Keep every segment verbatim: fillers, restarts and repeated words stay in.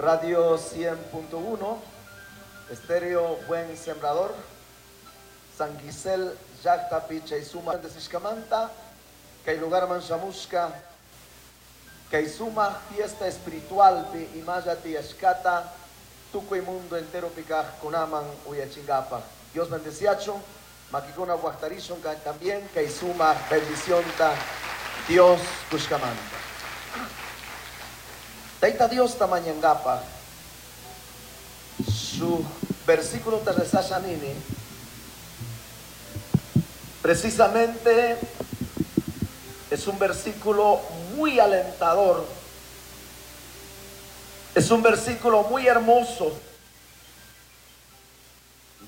Radio cien punto uno, Estéreo Buen Sembrador, San Gisel, Llacta, Picha y Suma de Sishkamanta, Kay lugar Manchamusca, Kay Suma fiesta espiritual pi Imayati Ashkata, tukuy mundo entero pikaj kunaman uyachingapa. Dios bendeciacho, makikuna waqtarishun también kay suma bendicionta Dios kushkamanta. Taita Dios tamañangapa, su versículo te rezashanini, precisamente es un versículo muy alentador, es un versículo muy hermoso.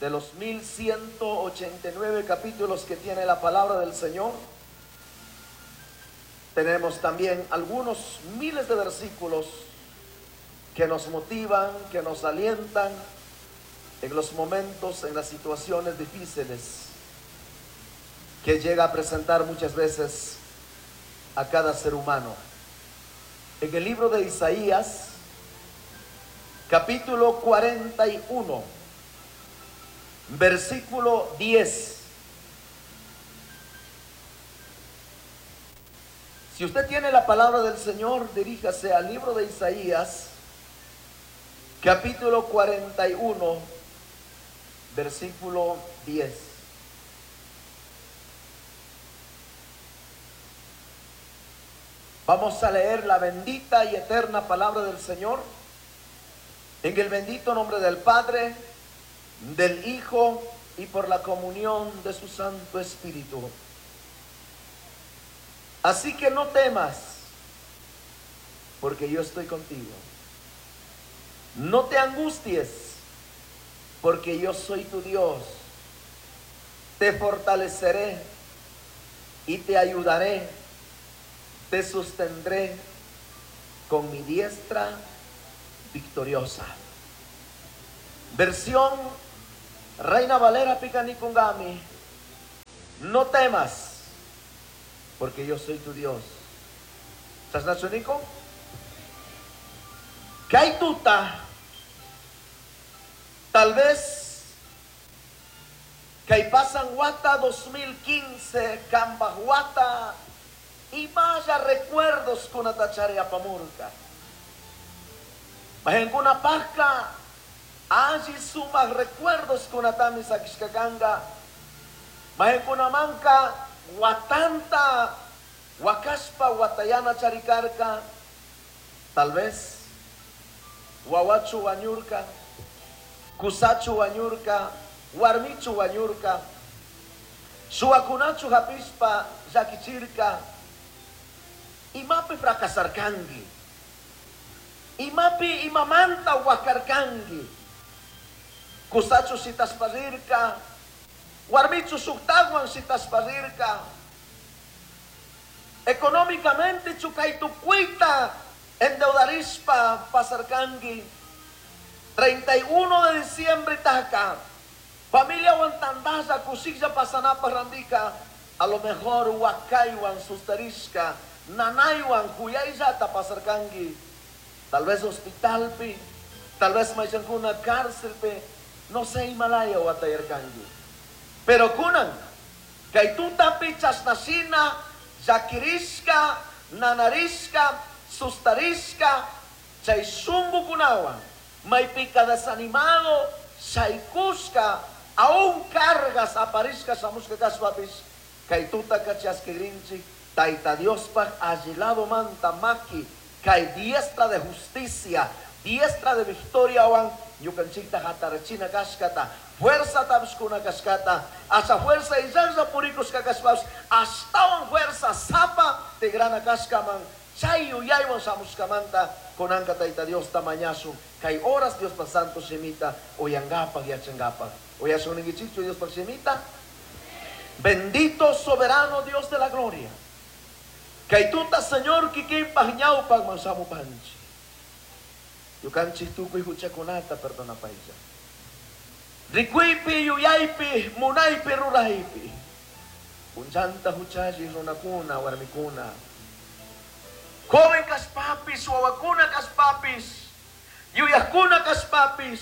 De los mil ciento ochenta y nueve capítulos que tiene la palabra del Señor, tenemos también algunos miles de versículos que nos motivan, que nos alientan en los momentos, en las situaciones difíciles que llega a presentar muchas veces a cada ser humano. En el libro de Isaías, capítulo cuarenta y uno, versículo diez. Si usted tiene la palabra del Señor, diríjase al libro de Isaías, capítulo cuarenta y uno, versículo diez. Vamos a leer la bendita y eterna palabra del Señor en el bendito nombre del Padre, del Hijo y por la comunión de su Santo Espíritu. Así que no temas, porque yo estoy contigo. No te angusties, porque yo soy tu Dios. Te fortaleceré y te ayudaré. Te sostendré con mi diestra victoriosa. Versión Reina Valera Picanicungami. No temas, porque yo soy tu Dios. ¿Estás nacionico? Kay tuta, tal vez kay pasan wata dos mil quince, kambahuata, y vaya recuerdos con atachare apamurca. Majencuna pasca, allí sumas recuerdos con atami sakishkakanga. Majencuna manca, guatanta, huacaspa, guatayana charicarca. Tal vez, guaguachu guañurca, cusachu guañurca, guarmichu guañurca, suacunachu japispa, yaquichirca. Imapi fracasarkangi, imapi imamanta huacarkangi, kusachu sitasparirka, warmichu suktaguan sitasparirka, económicamente chukaitukuita endeudarispa pasarkangi. Treinta y uno de diciembre taka, familia guantandaya kusikya pasanapa randika, a lo mejor huacaiwan sustarisca, nanaywan kuyayllata pasarkangi, tal vez hospitalpi, tal vez maychankuna cárcelpi, no sé Himalaya watayarkangi. Pero kunan, kay tutapi chasnashina, llakirishka, nanarishka, sustarishka, chay shungukunawan, maypika desanimado, shaykushka, aún cargas aparishka shamushka kashpapis, kay tutaka chaskirinchik, Taita Diospaj allilado manta maki, kay diestra de justicia, diestra de victoria wan, ñukanchikta hatarachina kashkata, fuerza tabshkuna kashkata, hasta fuerza y yanza purikus kakashpash, hasta fuerza zapa tigrana kashkaman, chayu yaywan shamushkamanta, konanka Taita Dios tamañasun, kay horas Dios pa santo shemita, oyangapaj yachangapaj. Oyasun ningichichu Dios pa shemita. Bendito soberano Dios de la gloria. Kay tuta Señor kikimpaj ñawpaj mansamu panchi. Yukanchik tukuy huchakunata perdona paisa. Rikuypi, yuyaypi, munaypi, ruraypi. Punchanta huchayi runakuna, warmikuna. Joven kaspapis, wawakuna kaspapis. Yuyajkuna kashpapis.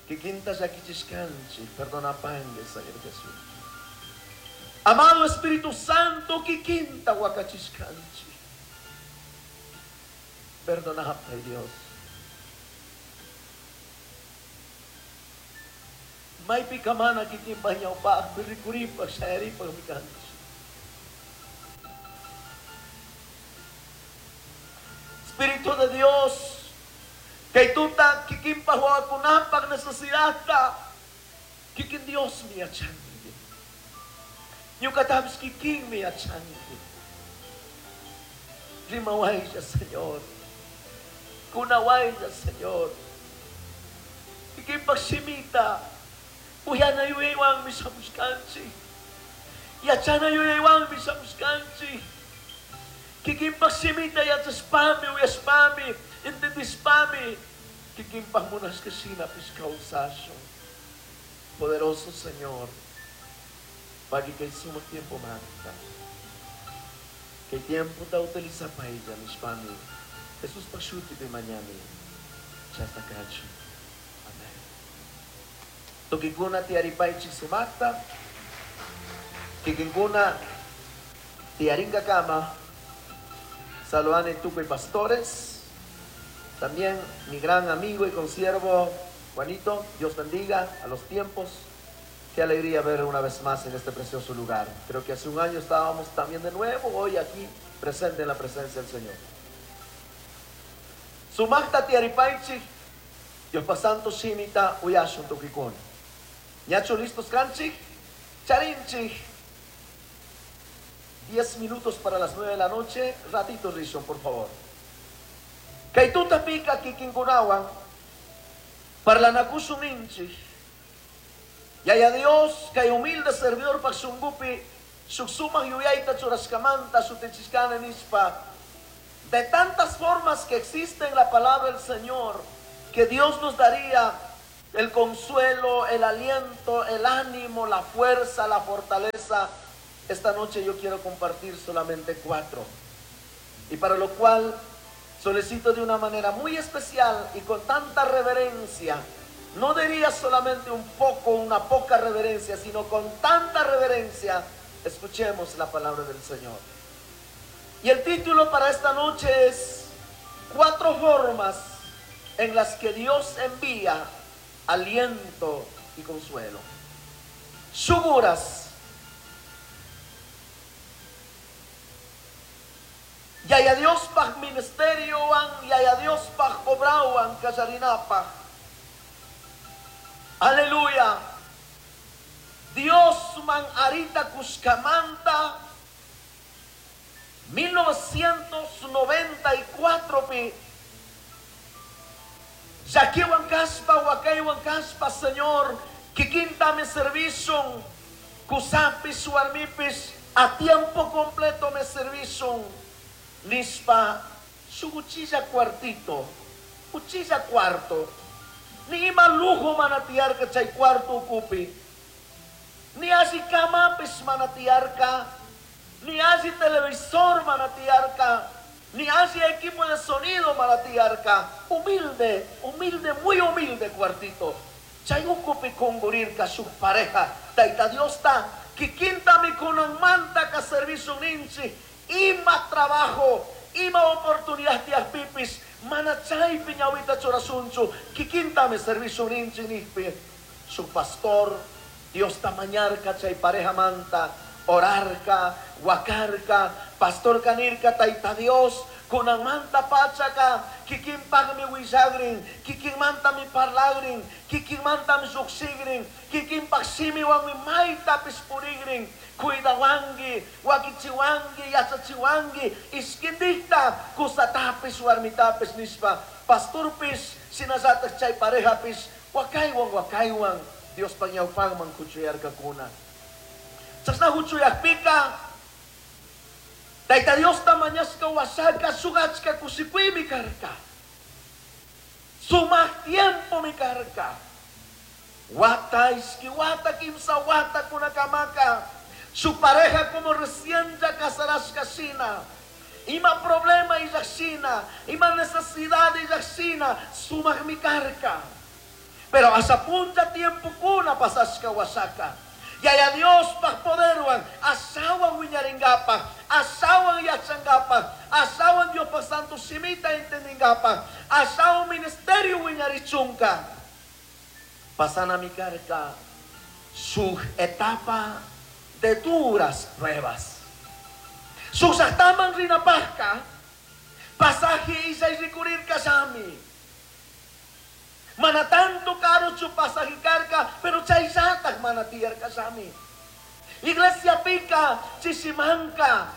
Kikinta llakichishkanchik, perdonapangui, Señor Jesús. Amado Espíritu Santo, kikinta wakachishkanchik. Perdonapay, Dios. Maypi kamana kikinpaj ñawpajpi rikuripaj shayaripaj mikanchik. Espíritu de Dios, kay tuta kikinpaj wawakunapaj necesidadta, kikin Dios mi yachanki. Ñuqatapis kikinmi yachanki. Rimawaylla, Señor. Kunawaylla, Señor. Kikinpaj shimita, uyana yuyaywanmi shamushkanchik. Yachana yuyaywanmi shamushkanchik. Kikinpaj shimita yachashpami, uyashpami, entendishpami, kikinpaj munashka shinapis kawsashun. Poderoso Señor, pagi kay sumak tiempo manta. Kay tiempo ta utiliza pa ella, nishpami. Jesús pashuti pi mañani. Chasta kachu. Amén. Tukikuna tiaripaichi sumakta. Kikinkuna tiaringa kama. Saluane tuco y pastores. También mi gran amigo y consiervo Juanito, Dios bendiga a los tiempos. Qué alegría ver una vez más en este precioso lugar. Creo que hace un año estábamos también de nuevo, hoy aquí presente en la presencia del Señor. Sumacta tiaripaichi, Dios pasanto shimita uyashun tukikun. Ñacho listos kanchik, charinchik. Diez minutos para las nueve de la noche, ratito Rishon, por favor. Kaituta pika kikinkunawan, parlanakusun ninchik. Yaya Dios, kay humilde servidor paksungupi, suksumang yuyayta churaskamanta, sutichiskana nispa. De tantas formas que existen en la palabra del Señor, que Dios nos daría el consuelo, el aliento, el ánimo, la fuerza, la fortaleza. Esta noche yo quiero compartir solamente cuatro. Y para lo cual solicito de una manera muy especial y con tanta reverencia, no diría solamente un poco, una poca reverencia, sino con tanta reverencia, escuchemos la palabra del Señor. Y el título para esta noche es Cuatro formas en las que Dios envía aliento y consuelo. Suguras. Yaya Dios paj ministerio an, yaya Dios paj obrauan, kallarinapaj. Aleluya. Dios man arita Cuscamanta, mil novecientos noventa y cuatro pi. Yaquiwan kaspa, wakaywan kaspa, Señor, kikinta mi servicio, kusapis, warmipis, a tiempo completo me servicio. Nispa, su cuchilla cuartito, cuchilla cuarto, ni ima lujo manatiarca chay cuarto ocupi, ni así camapis manatiarca, ni así televisor manatiarca, ni así equipo de sonido manatiarca. Humilde, humilde, muy humilde cuartito. Chay ocupi congurirca su pareja, taita Dios ta, kikinta mi kunan manta ka servicio ninchi. Ima trabajo, ima oportunidad tias pipis, mana chay piñawita chorasunchu, kikinta mi servicio ninchi nispi. Su pastor, Dios tamañarca chay pareja manta, orarca, huacarca, pastor canirca, taita Dios, kunan manta pachaca, kikin pag mi wisagrin, kikin manta mi parlagrin, kikin manta mi suksigrin, kikin pag simiwan mi maita pispurigrin, cuidawangi, wakichiwangi, yachachiwangi, iskindikta, kusatapis, warmitapis, nispa, pastorpis, sinasatak chay parejapis, wakaywan, wakaywan, Dios pañawpagman kuchuyarkakuna. Chasna huchuyakpika, Taita Dios tamañasca wasaka sugachka kusikui mi karka. Sumak tiempo mi karka. Wata iski wata kimsa wata kunakamaka. Su pareja como recién ya casarás casina. Ima problema illashina, ima necesidad illashina, sumaj mi karka. Pero hasta punta tiempo kuna pasashka wasaka. Yaya Dios paj poderwan, asawan wiñaringapa, asawan yachangapa, asawan Dios pa santo simita entendingapa, asawan ministerio wiñarichunka. Pasana mi karka su etapa de duras pruebas. Susahtaman rinapajka, pasaje isay rikurir kasami. Mana tanto caro su pasaje carga, pero chayzatak manatiyar kasami. Iglesia pica, chisimanka,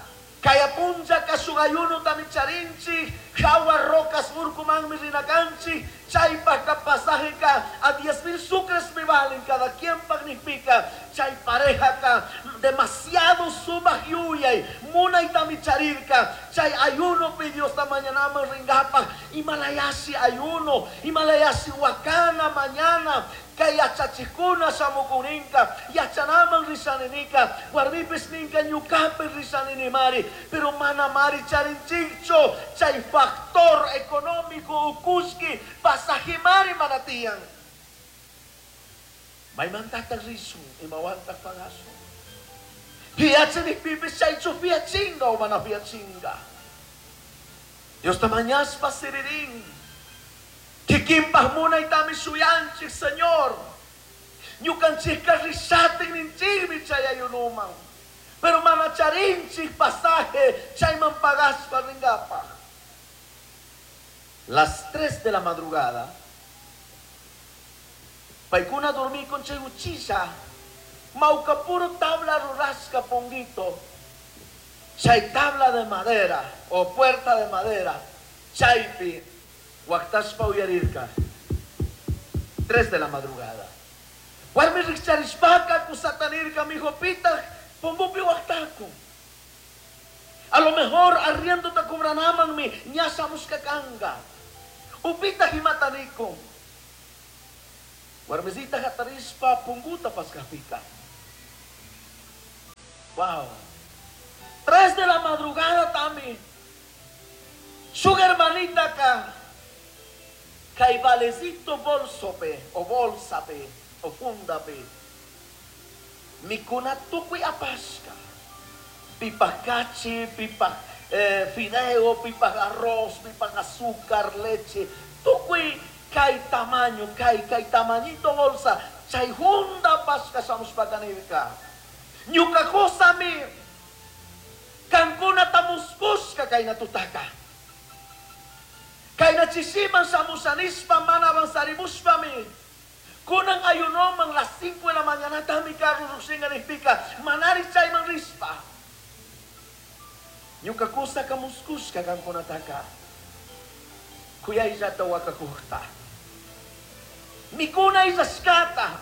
kaya punja kasugayuno tamicharinchi, jawa rocas urkuman mirinakanchi, chaypaka pasaje ka, a diez mil sucres me valen, cada quien pagnifica, chay pareja ka, demasiado sumaj yuyay, munay tamicharirka, chay ayuno pidió esta mañana ringapa, himalayasi ayuno, himalayasi wakana mañana, kay yachachikuna shamukuninka, yachanaman risaninika, warmipis ninka ñukapi risaninimari, pero manamari charinchicho, chay factor económico ukuski, pasajimari manatiyan. Maymantata risun, imawanta pagaso. Piachini pipis chaychu piachinga o mana piachinga. Dios tamañaspa siririn. Kikimpah munay tami suyanchik, Señor. Ñukanchik risatin ninchikmi chayayunuman. Pero manacharinchik pasaje, chayman pagaspa ringapa. Las tres de la madrugada, paikuna dormí con chayuchisa, mauca puro tabla rurasca ponguito, chay tabla de madera o puerta de madera, chaypi, huactaspa uyarirka. Tres de la madrugada. Warmi rikcharishpaka kusatanirka mijo pita, pongupi huactaco. A lo mejor arriendo te cobranaman mi ñasa muscacanga. Upita himatanico. Warmesita jatarispa punguta pascapita. Wow. Tres de la madrugada tami. Su hermanita acá. Caibalecito bolsope o bolsape o fundape. Mikuna tukui apasca. Pipa cachi, pipa eh, fideo, pipa arroz, pipa azúcar, leche. Tukui kai tamaño, kai kai tamañito bolsa. Chay junda pasca samos pacanirka. Ñuka kosami. Cancuna tamuskusca kai natutaka. Kay nachisiman sa musanispa man avanzarimuspami. Kunan ayunoman las cinco de la mañana tami carro rusinga nispika. Manari chayman rispa. Ñuka kusa kamuskuska kankunataka. Kuya isata wakakuhta. Mikuna isaskata.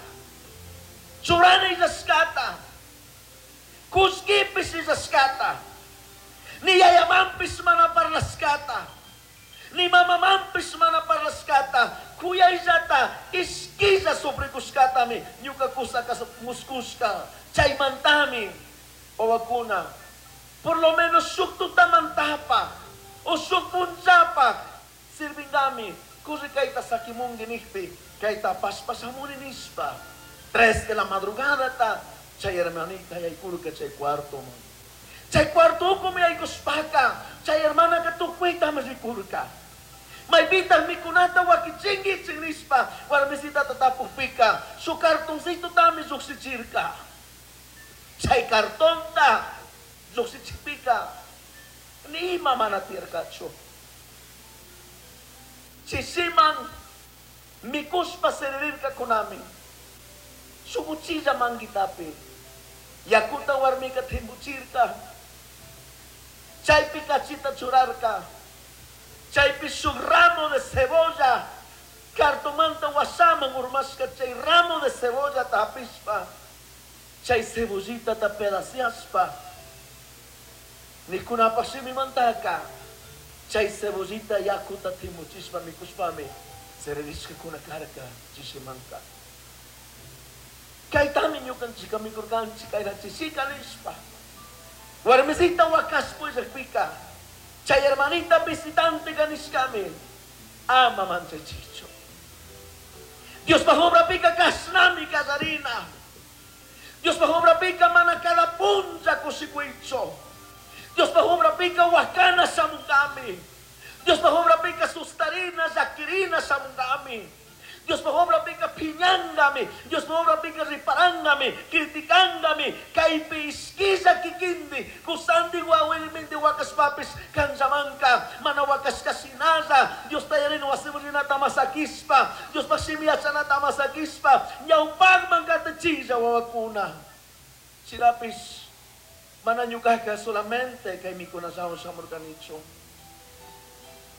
Churana isaskata. Kuskipis isaskata. Ni yayamampis manaparlaskata. Ni mamamampis manaparlaskata. Kuya isata iskisa sobre kuskatami. Ñuka kusa muskuska. Chaymantami. Owakuna. Por lo menos suktutamantapa o sukpunchapa sirvingami. Kurri kaita sakimungi nihpi, kaita paspasamuni nispa. Tres de la madrugada ta, chay hermanita y kurka chay cuarto man. Chay cuarto kumi ay kuspaka, chay hermana ka tukwita masikurka. May bitang mikunata wakichingi chingnispa, warmisita tatapupika, su cartoncito tami suksichirka. Chay cartonta Luksichipika, ni mama natirkacho. Chisiman, mikuspa serirka kunami. Sukuchilla mangitapi. Yakuta warmika timbuchirka. Chaypi kachita churarka. Chaypi su ramo de cebolla. Cartomanta wasaman urmaska chay ramo de cebolla tapispa. Chay cebollita tapedaciaspa. Nikuna pasimi mantaka. Chay cebollita yakuta timuchispa mikuspami. Sereriska kuna karka chisimanka. Kaytami ñukanchika mikurkanchik kayrachisika nispa. Warmisita wakaspo illakpika. Chay hermanita visitante kanishkami ama manchachichu. Dios obra pica kasnami kasarina. Dios obra pica mana cada punta kusikuicho. Dios obra pica wakana samungami. Dios obra pica sustarina zakirina samungami. Dios obra pica piñangami. Dios obra pica riparangami, criticangami, kaypi iskiza kikindi, kusandi wawilmindi wakas papis kanzamanka, mana wakas kasinaza, Dios tayarin wasimurina tamasakispa, Dios pasimiachana tamasakispa, ñawpagman katachiza wawakuna. Chirapis, mana ñukaka solamente kay mikunasawan samurkanicho.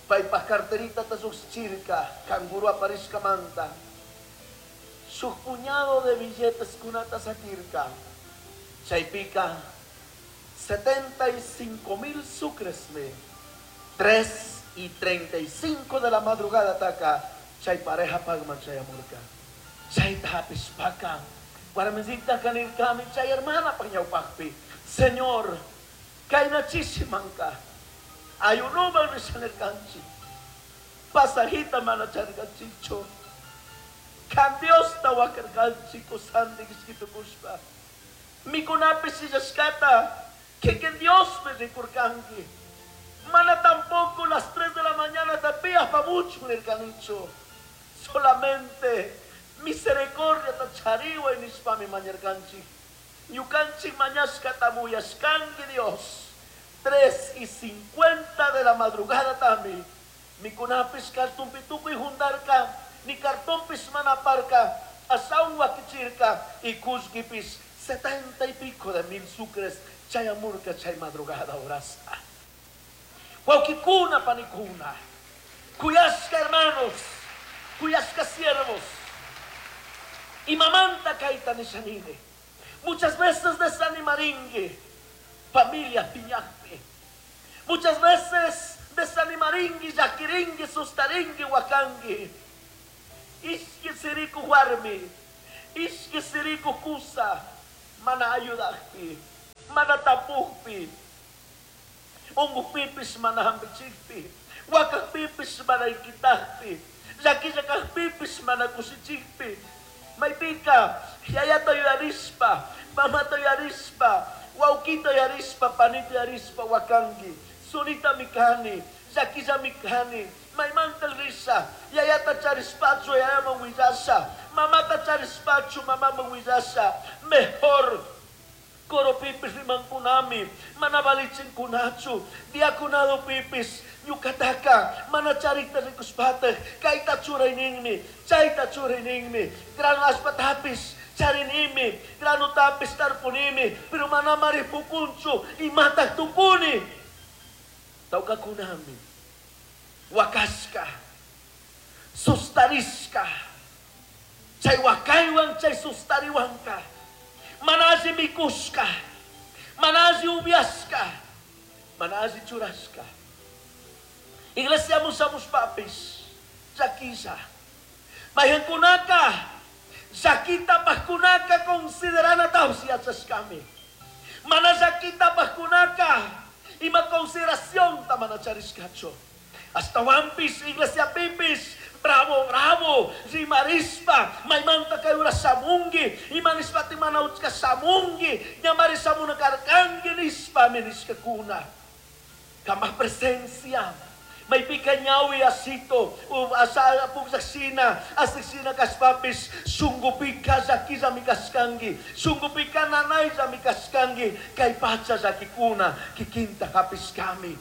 Paypaj carterita tasuxchirka, canguro aparisca manta. Su puñado de billetes kunata sakirka. Chaypika, setenta y cinco mil sucres me. Tres y treinta y cinco de la madrugada taka. Chay pareja pagman chayamurka. Chay tapispaka. Guaramecita kanirkami, chay hermana pañaupakpi. Señor, kainachisimanka. Ayunuman risanerkanchi. Pasajita manacharkanchicho. Kan Dios tawakarkanchi kusandi kishkitukushpa. Mikunapi sillashkata. Que que Dios me rikurkanki. Mana tampoco las tres de la mañana tapías pa mucho en el canicho. Solamente misericordia tachariwa y nishpami mañarkanchi. Ñukanchi mañashka tamuyashkanki Dios. Tres y cincuenta de la madrugada también. Mikunapis cartón pituco y jundarka, ni cartón pismanaparca, asaun wakichirka y kuzgipis setenta y pico de mil sucres, chayamurka chay madrugada orasta. Huauquicuna panicuna, cuyasca hermanos, cuyasca siervos, y mamanta kaita nishanine. Muchas veces desanimaringue, familia piñape. Muchas veces desanimaringui, yaquiringui, sustaringui, huacangui. Ishki siriku warmi, ishki siriku kusa, mana ayudakpi, mana tapukpi, ungupipis mana hambichikpi, wakakpipis mana ikitakpi, yakillakakpipis mana kusichikpi. Maipika, yayata yuyarispa, mamata yuyarispa, waukito yarispa, panito yarispa, wakangi, sunita mikani, yakiza mikani, maimanta risa, yayata charispacho, yayama huillasa, mamata charispacho, mamama huillasa, mejor koropipis rimankunami, manabalichin kunachu, diaconado pipis, ñukataka, manacharikta rikuspatag, kaita churayninmi, chayta churayninmi, grano aspatapis, charinimi, grano tapis tarpunimi, pero manamari pukunchu, imatag tupuni. Taukakunami, wakashka, sustarishka, chay wakaywan, chay sustariwanka, manazi mikushka, manazi ubiashka, manazi churashka. Iglesia musamos papis, yakisa, mayankunaka, yakita paskunaka considerana tausia chashkami. Mana yakita paskunaka, ima consideración tamana charishkacho. Hasta wampis, iglesia pipis, bravo, bravo, rimarispa, maimanta kayura samungi, imanispa timanauchka samungi, ñamari samuna karkangi nispa menishkakuna. Kama presencia. Maipika ñawi asito, asa pugsasina, asisina kaspapis, sungupika zakiza mikaskangi, sungupika nanay mikaskangi, kay pacha zakikuna, kikinta kapiskami.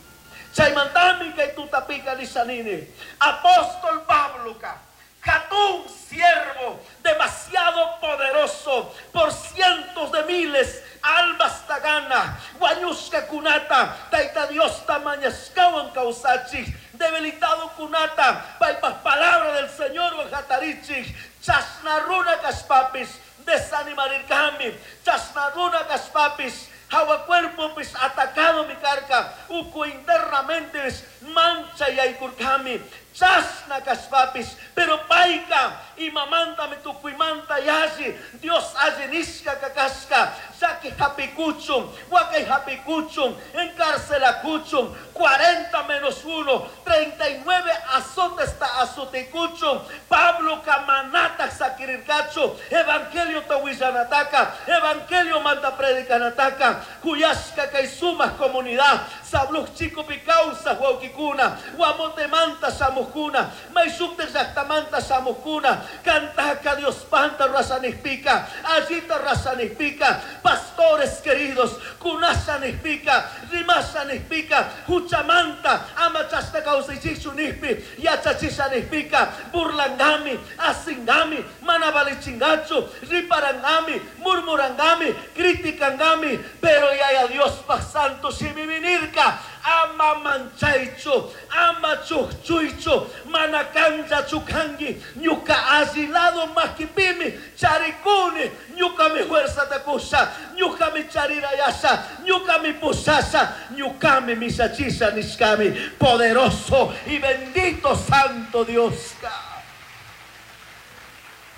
Chaymantami kay tutapika lisanini. Apóstol Pablo ka, Jatún siervo, demasiado poderoso, por cientos de miles, almas tagana, guañushka kunata, taita Dios tamañaskawan causachi, debilitado kunata, paipas palabra del Señor guajatarichi, chasnaruna kaspapis, desanimarirkami, chasnaruna kaspapis, hawa cuerpo pis atacado mi carca, uku internamente mancha y aykurkami, Chashna kashpapish, pero payka imamantami tukuymanta yalli Dios alli nishka kashka, llaki hapikuchun, wakay hapikuchun, encarcelakuchun, cuarenta menos uno, treinta y nueve azotes ta azotikuchun, Pablo kamanatak sakirirkachu, evangelio ta willanataka, evangelio manta predicanataka, kuyashka kay sumak comunidad, Sabluj chikupi kawsaj wawkikuna, Guamotemanta shamujkuna, Mayshukta llaktamanta shamujkuna, kantaka Dios panta rasanijpika, allita rasanijpika, pastores queridos, kunashanijpika, rimashanijpika, huchamanta, ama chashna kawsaychichu nijpi, yachachishanijpika, burlangami, asingami, mana valichingachu, riparangami, murmurangami, criticangami, pero yaya Dios pa santo shimiminirka, ama manchaychu, ama chukchuychu, mana kanchachu kanki, ñuka alli lado makipimi charikuni, ñukami fuerzata kusha, ñukami charirayasha, ñukami pushasha, ñukami misachisha nishkami, poderoso y bendito santo Dios.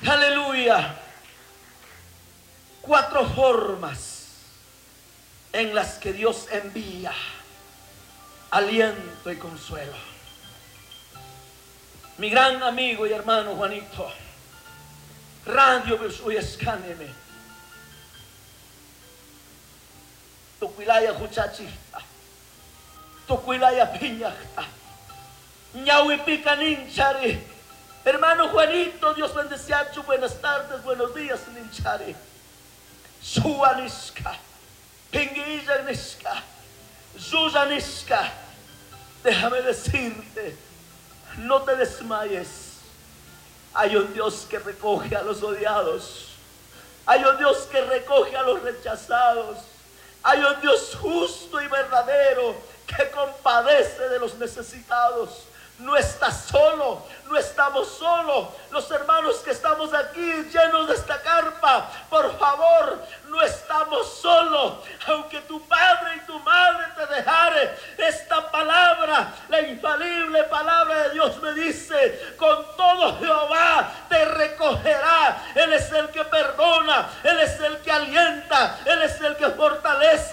Aleluya. Cuatro formas en las que Dios envía aliento y consuelo. Mi gran amigo y hermano Juanito, Radio Uyescáneme, Tucuilaya huchachista, Tucuilaya piñachta, Ñahuipica ninchari. Hermano Juanito, Dios bendeciachu, buenas tardes, buenos días, ninchari. Suanishka, Pinguilla nishka, Yuyanishka, déjame decirte, no te desmayes. Hay un Dios que recoge a los odiados. Hay un Dios que recoge a los rechazados. Hay un Dios justo y verdadero que compadece de los necesitados. No estás solo, no estamos solos. Los hermanos que estamos aquí llenos de esta carpa, por favor, no estamos solos. Aunque tu padre y tu madre te dejare, esta palabra, la infalible palabra de Dios me dice, con todo Jehová te recogerá. Él es el que perdona, Él es el que alienta, Él es el que fortalece.